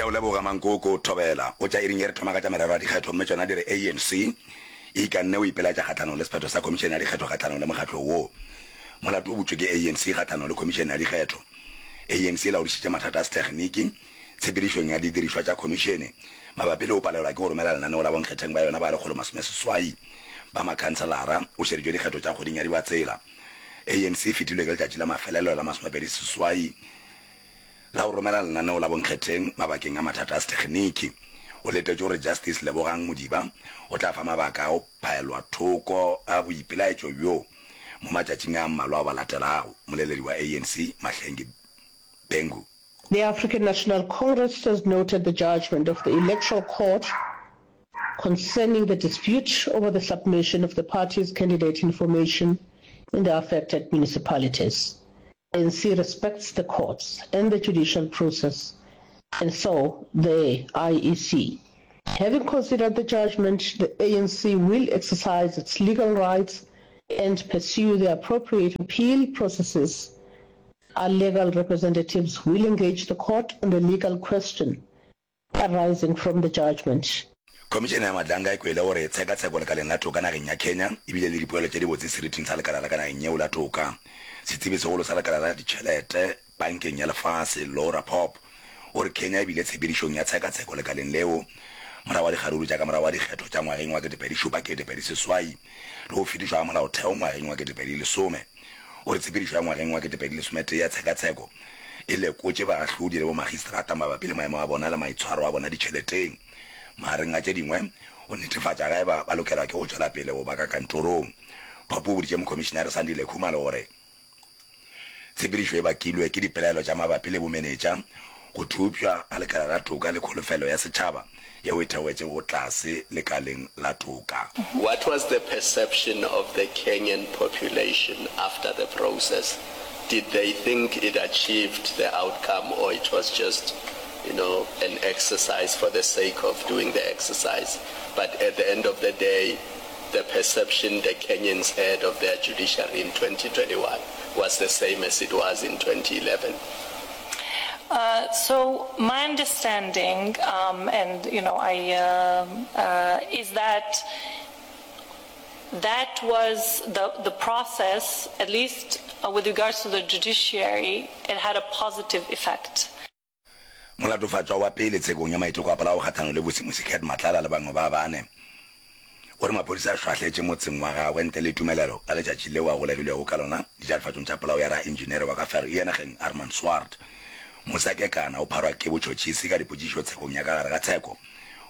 Ke a o leboga Mankoko. Thobela. O tša iring ye re thoma ka tša merero ya dikgetho mme tšona di re ANC e ikanne o ipelaetša kgahlanong le sephetho sa Khomišene ya Dikgetho kgahlanong le mokgatlo wo. Molato o butšwe ke ANC kgahlanong le Khomišene ya Dikgetho. ANC e laodišitše mathata a sethekgniki tshepedišong ya didirišwa tša khomišene mabapi le go palelwa ke go romela lenaneo la bonkgetheng ba yona ba 180 ba makhanselara o šeditšwe dikgetho tša kgweding ya Dibatsela. ANC e fetilwe ke letšatši la mafelelo la 28 la go romela lenaneo la bonkgetheng mabakeng a mathata a sethekgniki. O letetše gore Justice Lebogang Modiba o tla fa mabaka a go phaelwa thoko ga boipelaetšo bjo mo matšatšing a mmalwa ao a latelago, moleledi wa ANC Mahlengi Bhengu. The African National Congress has noted the judgment of the Electoral Court concerning the dispute over the submission of the party's candidate information in the affected municipalities. ANC respects the courts and the judicial process and so the IEC. Having considered the judgment, the ANC will exercise its legal rights and pursue the appropriate appeal processes. Our legal representatives will engage the court on the legal question arising from the judgment. Khomišene ya Madlanga e kwele gore tshekatsheko lekaleng la toka nageng ya Kenya e bile le dipoelo tše dibotse seriting sa lekala la ka nageng yeo la toka. Setsebi segolo sa lekala la ditšhelete Bankeng ya Lefase, Laura Popp, o re Kenya e bile tshepedišong ya tshekatsheko lekaleng leo morago ga dikgaruru tša ka morago ga dikgetho tša ngwageng wa 2007 2008 le go fetišwa ga molaotheo ngwageng wa 2010. O re tshepedišo ya ngwageng wa 2011 ya tshekatsheko e lekotše baahlodi le bomagistrata mabapi le maemo a bona le maitshwaro a bona ditšheleteng, magareng a tše dingwe, go netefatša ge eba ba lokelwa ke go tšwela pele go ba ka kantorong. Popp o boditše Mokhomišinare Sandile Khumalo gore tshepedišo e bakilwe ke dipelaelo tša mabapi le bomenetša, go thopša ga lekala la toka le kholofelo ya setšhaba yeo e theogetšego tlase lekaleng la toka. What was the perception of the Kenyan population after the process? Did they think it achieved the outcome or it was just, you know, an exercise for the sake of doing the exercise? But at the end of the day, the perception the Kenyans had of their judiciary in 2021 was the same as it was in 2011. Uh, so my understanding, um, and you know, I uh, uh, is that that was the the process, at least uh, with regards to the judiciary, it had a positive effect. Molatofatšwa wa pele tshekong ya maiteko a polao kgahlanong le Vusi Musicat Matlala le bangwe ba bane o re maphodisa a šwahletše motseng wa gagwe ntle le tumelelo ka letšatši leo a golegilwego ka lona ditatofatšong tša polao ya raenjenere wa ka Vereeniging Armand Swart. Musa Kekana o pharwa ke botšhotšhisi ka dipotšišo tshekong ya ka gare ga tsheko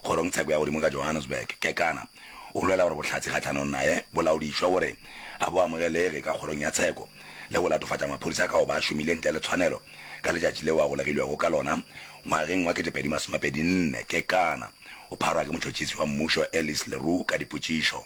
kgorongtsheko ya godimo ka Johannesburg. Kekana o lwela gore bohlatse kgahlanong naye bo laodišwe gore a bo amogelege ka kgorong ya tsheko le go latofatša maphodisa ka go ba a šomile ntle le tshwanelo Ka letšatši leo a golegilwego ka lona ngwageng wa 2024, Kekana o pharwa ke motšhotšhisi wa mmušo Ellis Le Roux ka dipotšišo.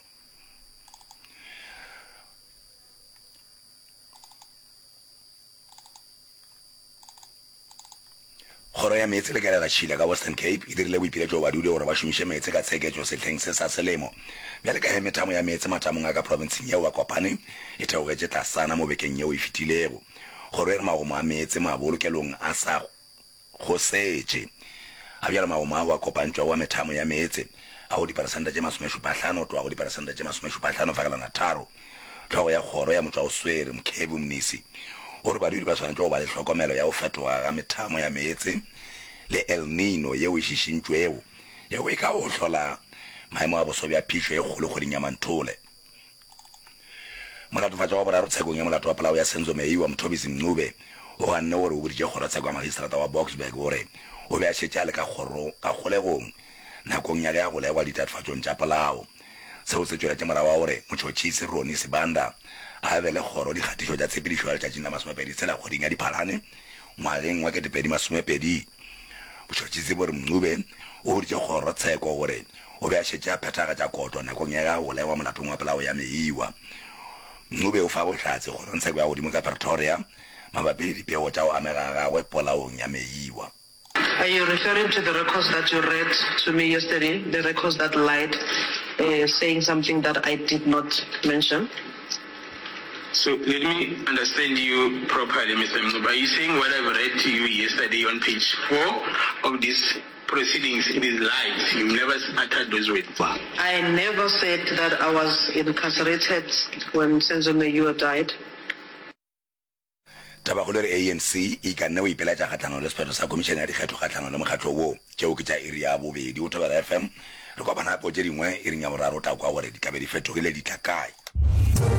Kgoro ya Meetse le Kelelatšhila ka Western Cape e dirile boipiletšo go badudi gore ba šomiše meetse ka tsheketšo sehleng se sa selemo bjale ka ge methamo ya meetse matamong a ka profenseng yeo a kopane e theogetše tlasana mo bekeng yeo e fetilego. Kgoro e re magomo a meetse mabolokelong a sa gosetše. Ga bjale magomo ao a kopantšwago a methamo ya meetse a go diperesente tše masomešupahlano go tloga go diperesente tše masomešupahlano fegelwana tharo. Hlogo ya kgoro ya motšwaoswere, Mkhevu Mnisi, o re badudi ba swanetše go ba le hlokomelo ya go fetoga ga methamo ya meetse le El Nino yeo e šišintšwego yeo e kago hlola maemo a boso bja phišo e kgolo kgweding ya Manthole. Molatofatšwa wa boraro tshekong ya molato wa polao ya Senzo Meyiwa, Mthobisi Mncube, o ganne gore o boditše kgorotsheko ya magistrata wa Boksburg gore o be a šetše a le ka kgoro ka kgolegong nakong ya ge a golegwa ditatofatšong tša polao. Seo se tšweletše morago ga gore motšhotšhisi Ronnie Sibanda a abele kgoro dikgatišo tša tshepedišo ya letšatšing la masomepedi tshela kgweding ya Diphalane ngwageng wa 2020. Botšhotšhisi bo re Mncube o boditše kgorotsheko gore O be a šetše a phethagatša kotlo nakong ya ge a golegwa molatong wa polao ya Meyiwa. Ncube o fa bohlatse kgorongtsheko ya godimo ka Pretoria mabapi le dipego tša go amega ga gagwe polaong ya Meyiwa. Are you referring to the records that you read to me yesterday, the records that lied, saying something that I did not mention? So let me understand you properly, Mister Mncube. Are you saying what I've read to you yesterday on page 4 of this? proceedings, it is lies. You've never uttered those words. I never said that I was incarcerated when Senzo Meyiwa died. Tabakgolo e re ANC e ikanne go ipeletša kgahlanong le sephetho sa Khomišene ya Dikgetho kgahlanong le mokgatlo wo. Tšeo ke tša iri ya bobedi go Thobela FM. Re kopana gape go tše dingwe iring ya boraro o tla kwa gore di tla be di fetogile di tla kae.